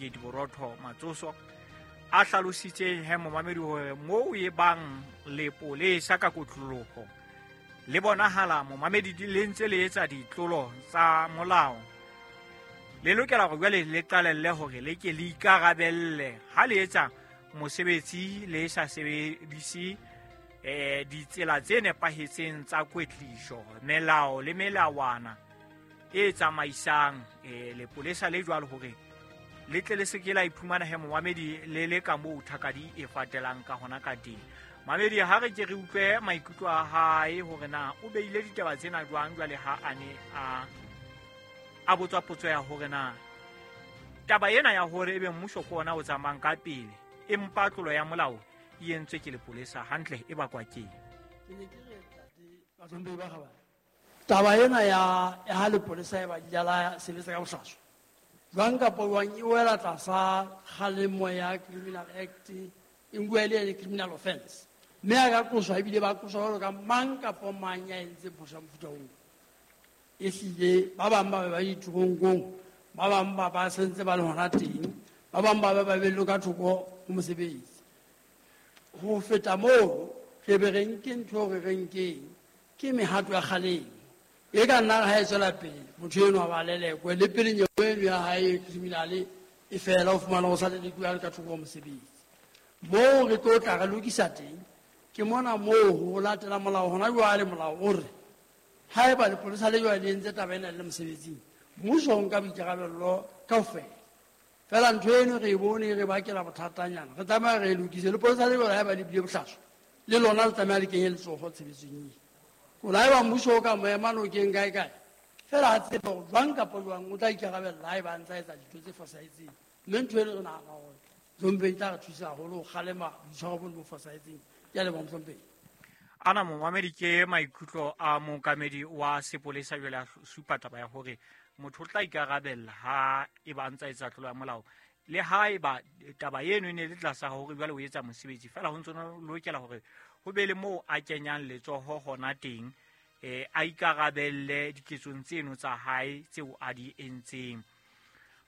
Borotho Matsoso a hlalositse he momamedi hore moo e bang lepolesa ka kotloloho le bonahala momamedi le ntse le etsa ditlolo tsa molao, le lokela hore jwale le qalelle hore le ke le ikarabelle ha le etsa mosebetsi le sa sebedise ditsela tse nepahetseng tsa kwetliso, melao le melawana e tsamaisang lepolesa le jwalo hore le tle le se ke la iphumana he momamedi le le ka moo thakadi e fatelang ka hona ka teng. Mamedi, ha re ke re utlwe maikutlo a hae hore na o beile ditaba tsena jwang jwale ha a ne a botswa potso ya hore na taba ena ya hore ebe mmuso ke ona o tsamayang ka pele empa tlolo ya molao e entswe ke lepolesa hantle e bakwa keng. Ke ne ke re ntate ba kgabane, taba ena ya ha lepolesa e ba la sebetsa ka bohlaswa jwang kapa jwang e wela tlasa kgalemo ya Criminal Act, e nkuwa e le criminal offense, mme a ka qoswa ebile ba qoswa jwalo ka mang kapa mang ya entseng phoso ya mofuta oo. Ehlile ba bang ba be ba diteronkong, ba bang ba ba sentse ba le hona teng, ba bang ba be ba behellwe ka thoko ho mosebetsi. Ho feta moo, re be re nke ntho eo re re nkeng ke mehato ya kgalemo e ka nna ha e tswela pele motho enwa ba lelekwe le pele nyewe eno ya hae e criminal e fela, o fumana ho sa lelekuwe a le ka thoko ho mosebetsi. Moo re tlo tla re lokisa teng ke mona moo ho latela molao hona jwale. Molao o re haeba lepolesa le jwale le entse taba ena le le mosebetsing, mmuso o nka boikarabello kaofela. Fela ntho eno re e bone e re bakela bothatanyana, re tlameha re e lokise. Lepolesa le jwale haeba le bile bohlaswa le lona le tlameha le kenye letsoho tshebetsong eo. Kola haeba mmuso o ka mo ema nokeng kae kae fela, a tsebe hore jwang kapa jwang o tla ikarabella haeba a ntsa etsa dintho tse fosahetseng. Mme ntho eno re nahana hore mohlomphehi e tla re thusa haholo ho kgalema boitshwaro bo bo fosahetseng. Ke a leboha, mohlomphehi. Ana momamedi ke maikutlo a mookamedi wa sepolesa jwale a supa taba ya hore motho o tla ikarabella ha e ba ntsa etsa tlolo ya molao, le ha eba taba eno e ne le tlasa hore jwale o etsa mosebetsi fela, ho ntso lokela hore ho be le moo a kenyang letsoho hona teng, a ikarabelle diketsong tseno tsa hae tseo a di entseng.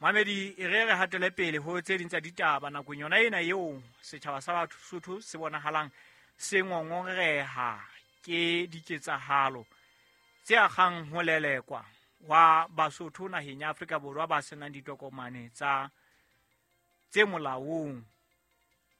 Mamedi, e re re hatele pele ho tse ding tsa ditaba nakong yona ena eo setjhaba sa Basotho se bonahalang se ngongoreha ke diketsahalo tse akgang ho lelekwa wa Basotho naheng ya Afrika Borwa ba senang ditokomane tsa tse molaong.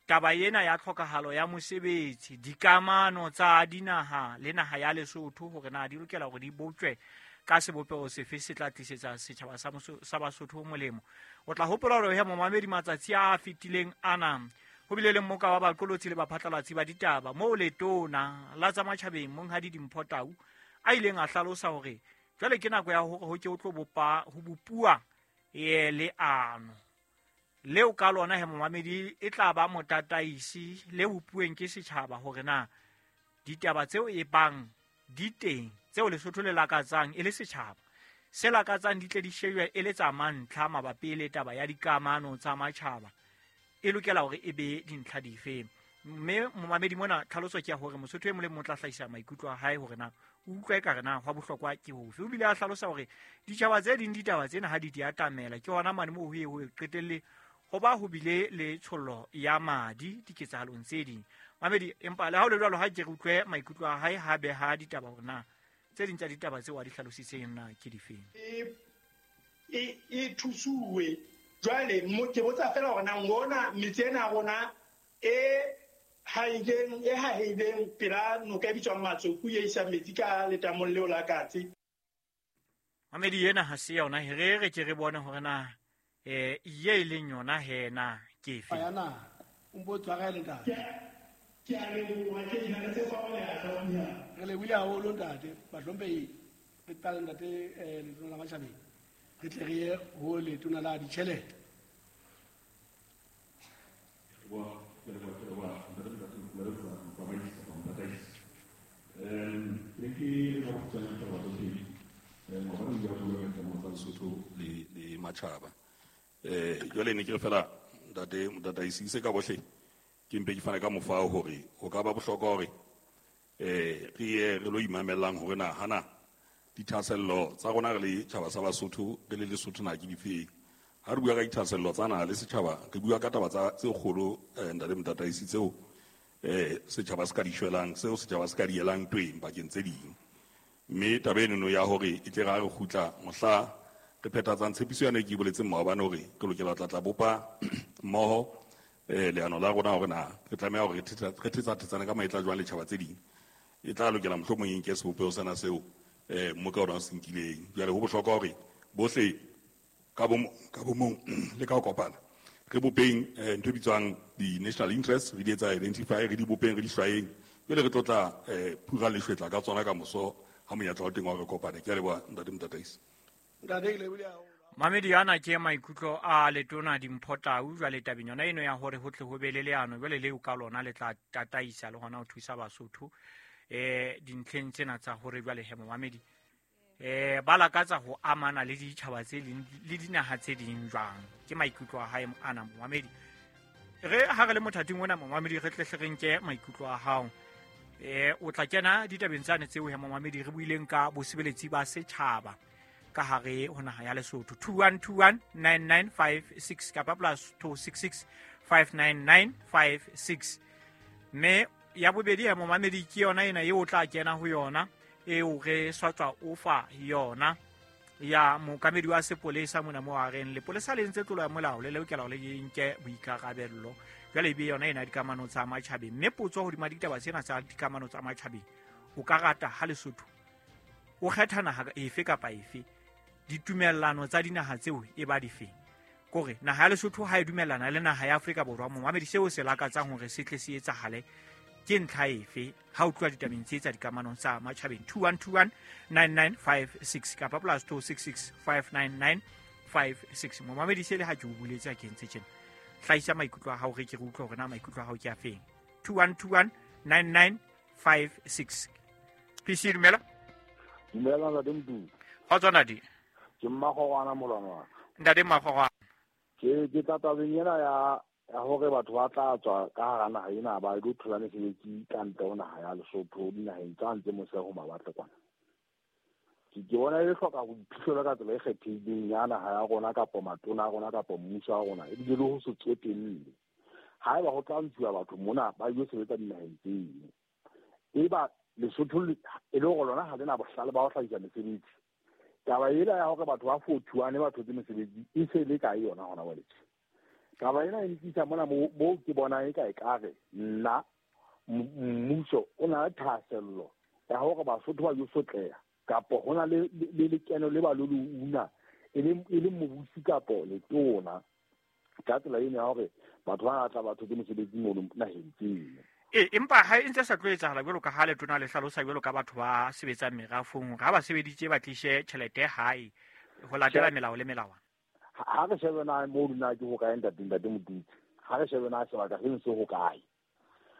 Taba ena ya tlhokahalo ya mosebetsi, dikamano tsa dinaha le naha ya Lesotho hore na di lokela hore di botjwe ka sebopeho sefe se tla tlisetsa setjhaba sa Basotho molemo. O tla hopola hore he momamedi matsatsi a fetileng ana ho bile le mmoka wa baqolotsi le baphatlalatsi ba ditaba moo letona la tsa matjhabeng Monghadi Dimpho Tau a ileng a hlalosa hore jwale ke nako ya hore ho ke ho tlo bopa ho bopuwa leano leo ka lona he momamedi e tla ba motataisi le bopuweng ke setjhaba hore na ditaba tseo e bang di teng tseo Lesotho le lakatsang e le setjhaba se lakatsang di tle di shejwe e le tsa mantlha mabapi le taba ya dikamano tsa matjhaba e lokela hore e be dintlha dife. Mme momamedi mona tlhaloso ke ya hore Mosotho e mong le mong o tla hlahisa maikutlo a hae hore na o utlwa ekare na hwa bohlokwa ke hofe. O bile a hlalosa hore ditjhaba tse ding ditaba tsena ha di di atamela ke hona mane moo ho ye ho qetelle ho ba ho bile le tshollo ya madi diketsahalong tse ding. Mamedi, empa le ha ho le jwalo ha ke re utlwe maikutlo a hae ha beha ditaba hore na tse ding tsa ditaba tseo a di hlalositseng na ke difeng. E thusuwe jwale ke botsa fela hore na ngona metse ena ya rona e haileng e haheileng pela noka e bitswang Matsoku e isang metsi ka letamong leo la Katse. Mamedi, ena ha se yona he re ke re bone hore na ye e leng yona he na ke efe. Ya na o mpo tshwarele ntate. Ke a leboha, ke na le tse fa o le a hlompha. Re lebohile haholo ntate, bahlomphehi re qale ntate letona la matjhabeng. Re tle re ye ho letona la ditjhelete. Le matjhaba. Jwale ne ke re fela ntate motataisi se ka bohle ke mpe ke fane ka mofao hore ho ka ba bohlokwa hore re ye re lo imamellang hore na hana dithahasello tsa rona re le tjhaba sa Basotho re le Lesotho na ke difeng. Ha re bua ka dithahasello tsa naha le setjhaba, re bua ka taba tsa tse kgolo ntate Motataisi tseo setjhaba se ka di shwelang, seo setjhaba se ka di elang tweng bakeng tse ding. Mme taba enono ya hore e tle re ha re kgutla mohla re phethatsang tshepiso yane e ke e boletseng maobane hore re lokela ho tla bopa mmoho leano la rona hore na re tlameha hore re thetsathetsane ka maetla jwang le tjhaba tse ding. E tla lokela mohlomong e nke sebopeho sena seo mmoka ona o se nkileng. Jwale ho bohlokwa hore bohle ka bomong le ka ho kopana re bopeng ntho e bitswang di-national interest, re di etsa identify, re di bopeng, re di hlwayeng, jwale re tlo tla phura leshwetla ka tsona ka moso ha monyetla wa teng wa re kopane. Ke a leboha ntate Motataisi. Ntate, ke lebohile haholo. Mamedi ana ke maikutlo a letona Dimpho Tau jwale tabeng yona eno ya hore ho tle ho be le leano jwale leo ka lona le tla tataisa le hona ho thusa Basotho dintlheng tsena tsa hore jwale he momamedi ba lakatsa ho amana le ditjhaba tse ding le dinaha tse ding jwang. Ke maikutlo a hae ana momamedi. Re ha re le mothating ona momamedi re tle hle re nke maikutlo a hao. O tla kena ditabeng tsane tseo he momamedi re buileng ka bosebeletsi ba setjhaba ka hare ho naha ya Lesotho. 21219956 kapa plus 266 59956. Mme ya bobedi ya momamedi ke yona ena eo o tla kena ho yona eo re sa tswa o fa yona ya mookamedi wa sepolesa mona mo a reng lepolesa le ntse tlolo ya molao le lokela hore le nke boikarabello. Jwale ebe yona ena dikamano tsa matjhabeng. Mme potso hodima ditaba tsena tsa dikamano tsa matjhabeng, o ka rata ha Lesotho o kgetha naha efe kapa efe, ditumellano tsa dinaha tseo e ba difeng? Kore naha ya Lesotho ha e dumellana le naha ya Afrika Borwa, momamedi seo se lakatsang hore se tle se etsahale ke ntlha efe ha o tloha ditabeng tse tsa dikamanong tsa matjhabeng? 21219956 kapa plus 266 59956. Momamedi se le ha ke o buletse a ke ntse tjena, hlahisa maikutlo a hao re ke re utlwe hore na maikutlo a hao ke a feng. 21219956. PC dumela. Dumela ntate Mdu. Kgotso ntate. Ke Mmakgorwana molwana wa ka. Ntate Mmakgorwana. Ke tla tabeng ena ya hore batho ba tla tswa ka hara naha ena ba ilo thola mesebetsi ka ntle ho naha ya Lesotho dinaheng tsa ntse mose ho mawatle kwana. Ke bona e hloka ho iphihlelwa ka tsela e kgethehileng ya naha ya rona kapa matona a rona kapa mmuso wa rona, ebile le ho se tsotelle. Haeba ho tla ntshuwa batho mona ba ilo sebetsa dinaheng tseno, eba Lesotho e le hore lona ha le na bohlale ba ho hlahisa mesebetsi, taba ena ya hore batho ba 41 ba thotse mesebetsi e se le kae yona hona jwale? Taba ena e nkisa mona moo ke bonang e ka ekare nna mmuso o na le thahasello ya hore Basotho ba yo sotleha kapa ho na le lekeno le ba lo le una e le mobusi kapa letona ka tsela ena ya hore batho ba tla ba thotse mesebetsi mono naheng tseno. Empa ha e ntse sa tlo etsahala jwalo ka ha letona le hlalosa jwalo ka batho ba sebetsang merafong hore ha ba sebeditse ba tlishe tjhelete hae ho latela melao le melawana. Ha re shebe na moo na ke hokae ntate Modutsi, ha re shebe na sebaka seno se hokae,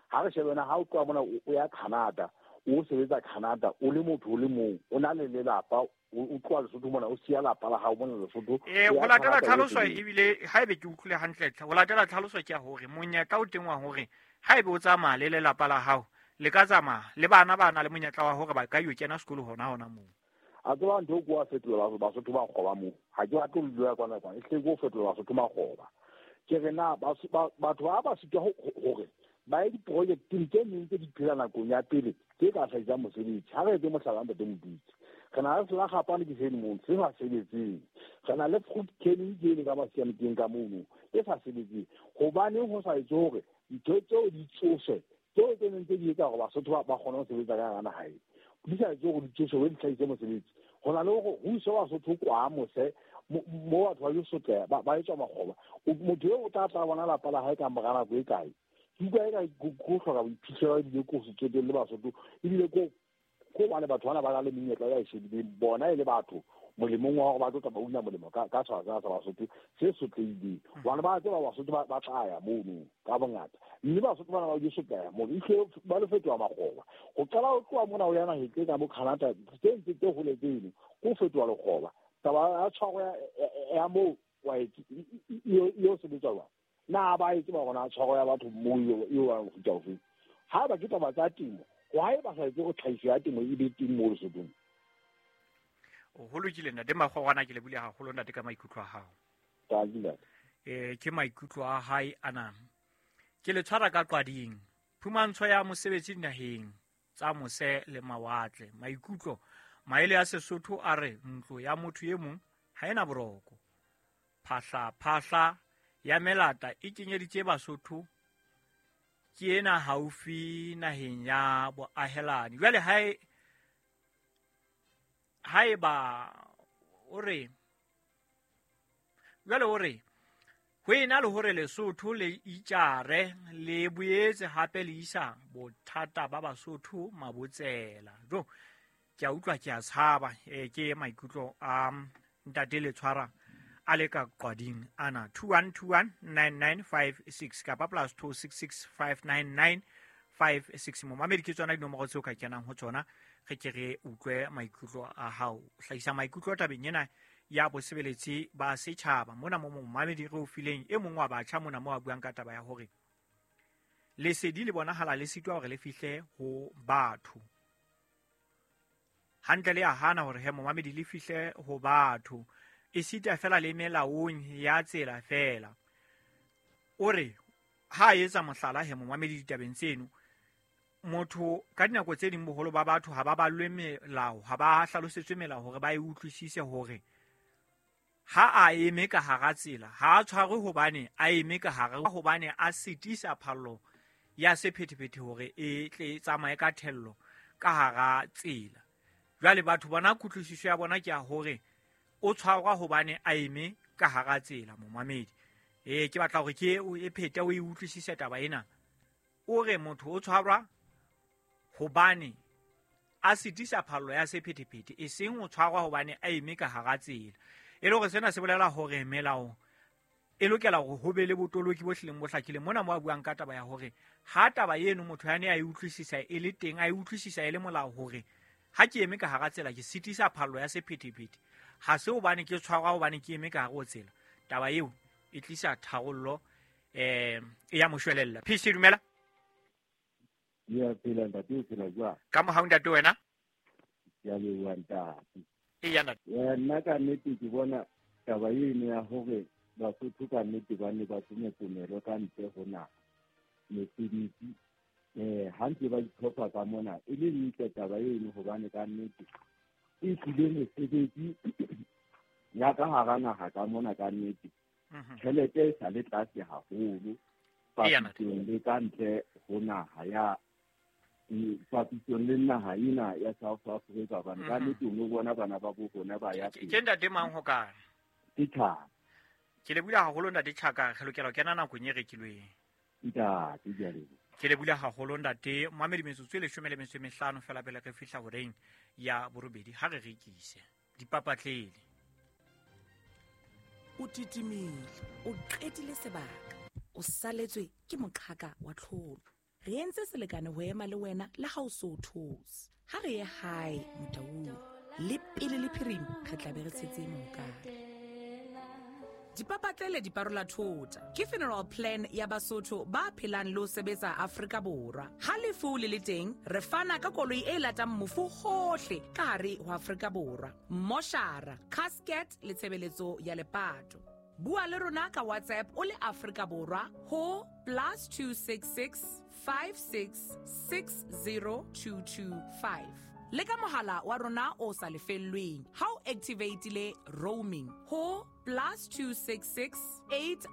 ha re shebe na ha o tloha mona o ya Canada, o sebetsa Canada o le motho o le mong, o na le lelapa, o tloha Lesotho mona o siya lapa la hao mona Lesotho. Ho latela tlhaloso ebile haebe ke utlwile hantle, ho latela tlhaloso ke ya hore monyetla o teng wa hore haebe o tsamaya le lelapa la hao le ka tsamaya le bana ba na le monyetla wa hore ba ka yo kena sekolo hona moo. A tseba ntho ko a fetola Basotho ba kgoba moo. Ha ke batle ho dula kwana kwana, e hle ke ho fetola Basotho makgoba. Ke re na batho ba sitwa hore ba ye diprojecteng tse neng tse di phela nakong ya pele tse ka hlahisang mosebetsi. Ha re etse mohlala ntate Modutsi, re na le selakgapane ke seno mono se sa sebetseng, re na le fruit canning ke ene ka masiamokeng ka mono e sa sebetseng. Hobaneng ho sa etse hore ntho tseo di tsoswe, tseo tse neng tse di etsa hore Basotho ba kgone ho sebetsa ka hara naha ena, di sa etse hore di tsoswe, di hlahise mosebetsi? Ho na le hore ho iswe Basotho kwa mose mo batho ba yo sotleha ba etswa makgoba. Motho eo o tla tla bona lapa la hae ka mora nako e kae? Ke utlwa eka ko hloka boiphihlelo ebile ko se tsotelle Basotho, ebile ko hobane batho bana ba na le menyetla ya e shebileng bona e le batho molemong wa hore ba tlo tla ba una molemo ka setjhaba sena sa Basotho se sotlehileng. Hobane ba tseba Basotho ba tla ya mono ka bongata, mme Basotho bana ba yo sotleha mono, ehlile ba lo fetoha makgoba. Ho qala ho tloha mona ho ya naheng tse ka bo Canada tse ntse tse hole tseno, ko fetoha lekgoba. Taba ya tshwaro ya moo wa eo sebetsa jwang? Na ba e tseba hore na tshwaro ya batho moo eo wa mofuta ofe? Haeba ke taba tsa temo, why ba sa etse hore tlhahiso ya temo e be teng moo Lesothong? Ho lokile ntate Makgorwana, ke lebohile haholo ntate ka maikutlo a hao. Ke maikutlo a hae ana. Ke le tshwara ka qwading. Phumantsho ya mosebetsi dinaheng tsa mose le mawatle. Maikutlo maele a Sesotho a re ntlo ya motho e mong ha ena boroko. Phahla phahla ya melata e kenyeditse Basotho ke ena haufi naheng ya boahelani. Jwale haeba o re jwale o re ho ena le hore Lesotho le itjare le boetse hape le isa bothata ba Basotho mabotsela. Jo ke a utlwa ke a tshaba. Ke maikutlo a ntate le tshwara a le ka qwading ana. 21219956 kapa +266 59956. Momamedi, ke tsona dinomoro tseo ka kenang ho tsona re ke re utlwe maikutlo a hao. Hlahisa maikutlo tabeng ena ya bosebeletsi ba setjhaba mona mo momamedi re o fileng e mong wa batjha mona mo a buang ka taba ya hore lesedi le bonahala le sitwa hore le fihle ho batho. Hantle le a hana hore he momamedi le fihle ho batho, e sita fela le melaong ya tsela fela. O re ha a etsa mohlala he momamedi ditabeng tseno, motho ka dinako tse ding boholo ba batho ha ba ballwe melao, ha ba hlalosetswe melao hore ba e utlwisise hore ha a eme ka hara tsela ha a tshwarwe hobane a eme ka hare, hobane a sitisa phallo ya sephethephethe hore e tle tsamaye ka thello ka hara tsela. Jwale batho bona kutlwisiso ya bona ke ya hore o tshwarwa hobane a eme ka hara tsela. Momamedi, ke batla hore ke e phete o e utlwisise taba ena. O re motho o tshwarwa hobane a sitisa phallo ya sephethephethe, e seng o tshwarwa hobane a eme ka hara tsela. E le hore sena se bolela hore melao e lokela hore ho be le botoloki bo hlileng bo hlakileng. Mona mo a buang ka taba ya hore ha taba eno motho ya ne a e utlwisisa e le teng, a e utlwisisa e le molao hore ha ke eme ka hara tsela ke sitisa phallo ya sephethephethe, ha se hobane ke tshwarwa hobane ke eme ka hare ho tsela. Taba eo e tlisa tharollo e ya moshwelella. PC, dumela. Ya phela ntate, o phela jwang? Ka mohau ntate, wena? Ke a leboha ntate. Eya ntate. Nna ka nnete ke bona taba eno ya hore Basotho ka nnete ba ne ba tsometsomelwe ka ntle ho naha mesebetsi, ha ntse ba itlhopha ka mona e le ntle taba eno, hobane ka nnete e tlile mesebetsi ya ka hara naha ka mona ka nnete tjhelete e sa le tlase haholo papisong le ka ntle ho naha ya papisong le naha ena ya South Africa, hobane ka nnete o no bona bana ba bo rona ba ya pele. Ke ntate mang ho kae? Ke Tjhaka. Ke le bula haholo ntate Tjhaka, re lokela ho kena nakong e rekilweng. Ntate, ke a leboha. Ke le bula haholo ntate. Mamedi, metsotso e 15 fela pele re fihla horeng ya 8 ha re rekise dipapatlele. O titimile, o qetile sebaka, o saletswe ke moqhaka wa tlholo. Re entse selekane ho ema le wena le ha o so those. Ha re ye hae Motaung, le pele le phirima re tla be re tshetse mohokare. Dipapatlele di parola thota ke funeral plan ya Basotho ba phelang le ho sebetsa Afrika Borwa. Ha lefu le le teng, re fana ka koloi e latang mofu hohle ka hare ho Afrika Borwa, moshara, casket le tshebeletso ya lepato. Bua le rona ka WhatsApp o le Afrika Borwa ho +266 56 60225 le ka mohala wa rona o sa lefellweng ha o activatile roaming ho +266 80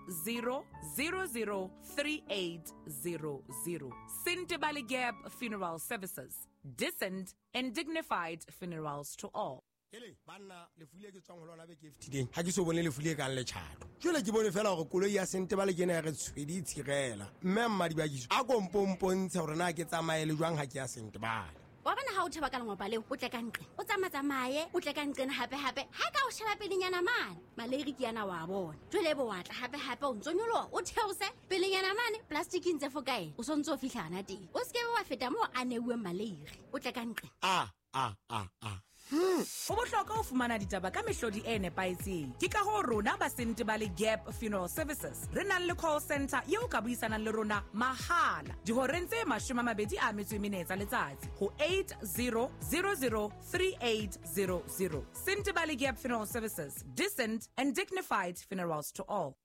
00 3800. Sentebale Gap Funeral Services, decent and dignified funerals to all. Ele banna, lefu le ke tswang ho lona beke e fetileng, ha ke so bone lefu le kang letjhato. Jwale ke bone fela hore koloi ya Sentebale ke ena ya re tshwedi e tshirela. Mme mmadibakiso a ko mpompontshe hore na ke tsamaye le jwang ha ke ya Sentebale. Wa bona ha o theba ka lengopa leo, o tle ka nqe, o tsamatsamaye, o tle ka nqena hape-hape. Ha ka o sheba pelenyana mane, maleiri ke yana wa bona. Jwale ebe wa tla hape-hape, o ntso nyoloha, o theose pelenyana mane, plastic ntse fo kae, o sontso o fihla hana teng. O se ke wa feta moo a neuweng maleiri, o tle ka nqe. A, a, a, a. Ho bohlokwa ho fumana ditaba ka mehlodi e nepahetseng. Ke ka hoo rona ba Sentebale Gap Funeral Services re nang le call center eo ka buisanang le rona mahala dihoreng tse 24 tsa letsatsi ho 80003800. Sentebale Gap Funeral Services, decent and dignified funerals to all.